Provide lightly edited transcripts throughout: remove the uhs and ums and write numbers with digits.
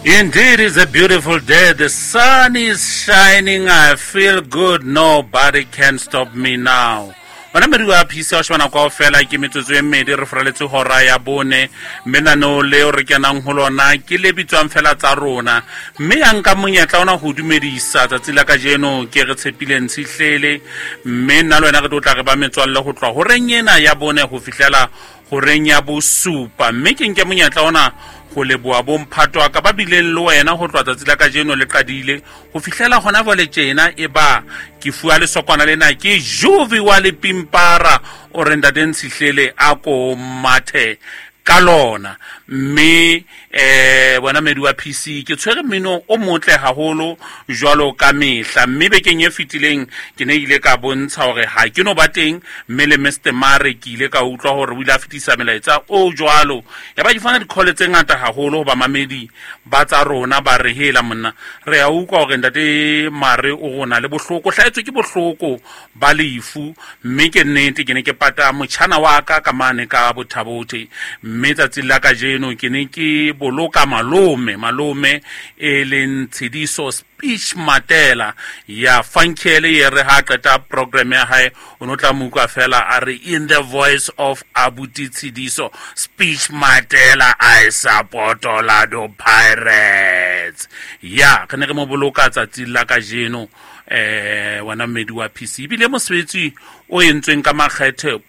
Indeed, it's a beautiful day. The sun is shining. I feel good. Nobody can stop me now. Bona medi wa phisa wa shebana kwao fela ke metsotso e mmedi re foraletse hora ya bone, mme naneo leo re kenang ho lona ke le bitswang fela tsa rona. Mme ya nka monyetla ona ho dumedisa tsatsi la kajeno ke re tshepile ntshihlele, mme nna le wena re tlo tla re ba metswalle ho tloha horeng ena ya bone ho fihlela horeng ya bosupa. Mme ke nke monyetla ona ho leboha bomphato wa ka ba bileng le wena ho tloha tsatsi la kajeno le qadile ho fihlela hona jwale tjena. E ba ke fuwa lesokwana lena ke Juvi wa Lepimpara, o re ntate Ntshihlele a ko mathe ka lona. Mme bona medi wa PC, ke tshwere mmino o motle haholo jwalo ka mehla. Mme bekeng e fetileng ke ne ile ka bontsha hore ha ke no ba teng, mme le Mr Mare ke ile ka utlwa hore o ile a fetisa melaetsa o jwalo. Ya ba ke fana di-call tse ngata haholo ho bamamedi ba tsa rona, ba re hela monna, re a utlwa hore ntate Mare o rona le bohloko, hlahetswe ke bohloko ba lefu. Mme ke nnete, ke ne ke pata motjhana wa ka ka mane ka Bothabothe, mme tsatsing la kajeno ke ne ke boloka malome, malome e leng Tshediso Speech Matela ya Funkele. Ye re ha qeta program ya hae o no tla mo utlwa fela a re, "In the voice of Abuti Tshediso Speech Matela, I support Orlando Pirates." Ya re ne re mo boloka tsatsing la kajeno. Wena mmedi wa PC, ebile mosebetsi o entsweng ka makgethe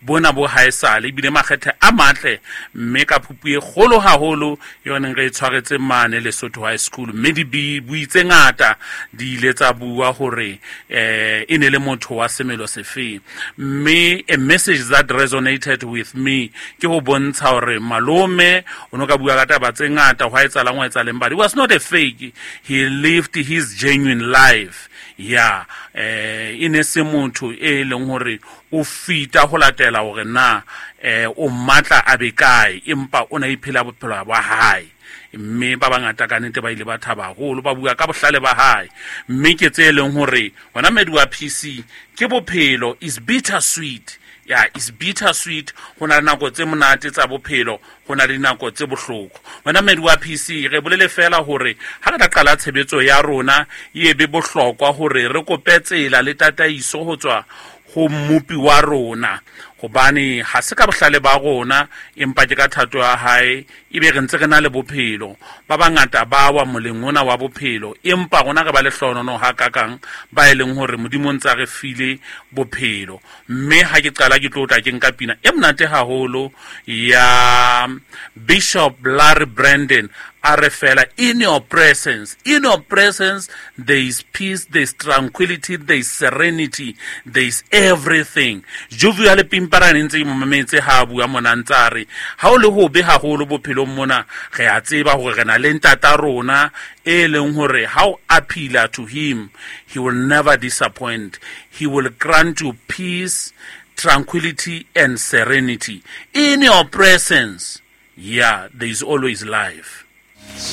bona bo haesale, ebile makgethe a matle, mme ka phupu e kgolo haholo yone re e tshwaretse mane Lesotho High School. Mme dibui tse ngata di ile tsa bua hore e ne le motho wa semelo sefeng. Mme a message that resonated with me ke ho bontsha hore malome o no ka bua ka taba tse ngata, hwa etsahalang, hwa etsahaleng, but he was not a fake, he lived his genuine life. Ya e ne se motho e leng hore o fita ho latela hore na o matla a be kae, empa o na iphela bophelo ba hae. Mme ba bangata ka nnete ba ile ba thaba haholo, ba bua ka bohlale ba hae. Mme ke tse leng hore wena mmedi wa PC, ke bophelo is bitter sweet. Ya, is bitter sweet. Ho na le nako tse monate tsa bophelo, ho na le dinako tse bohloko. Wena mmedi wa PC, re bolele fela hore ha re tla qala tshebetso ya rona, e be bohlokwa hore re kope tsela le tataiso ho tswa ho mmopi wa rona, hobane ha se ka bohlale ba rona, empa ke ka thato ya hae ebe re ntse re na le bophelo. Ba bangata ba wa moleng ona wa bophelo, empa rona re ba lehlohonono hakakang ba e leng hore Modimo o ntse a re file bophelo. Mme ha ke qala ke tlo tla ke nka pina e monate haholo ya Bishop Larry Brandon, a re fela, "In your presence, in your presence there is peace, there is tranquility, there is serenity, there is everything." Juvi ya Lepimparane ntse ke mo mametse ha a bua mona, ntse a re ha o le hobe haholo bophelong mona, re a tseba hore re na le ntata rona e leng hore ha o appeala to him, he will never disappoint. He will grant you peace, tranquility and serenity. In your presence, yeah, there is always life.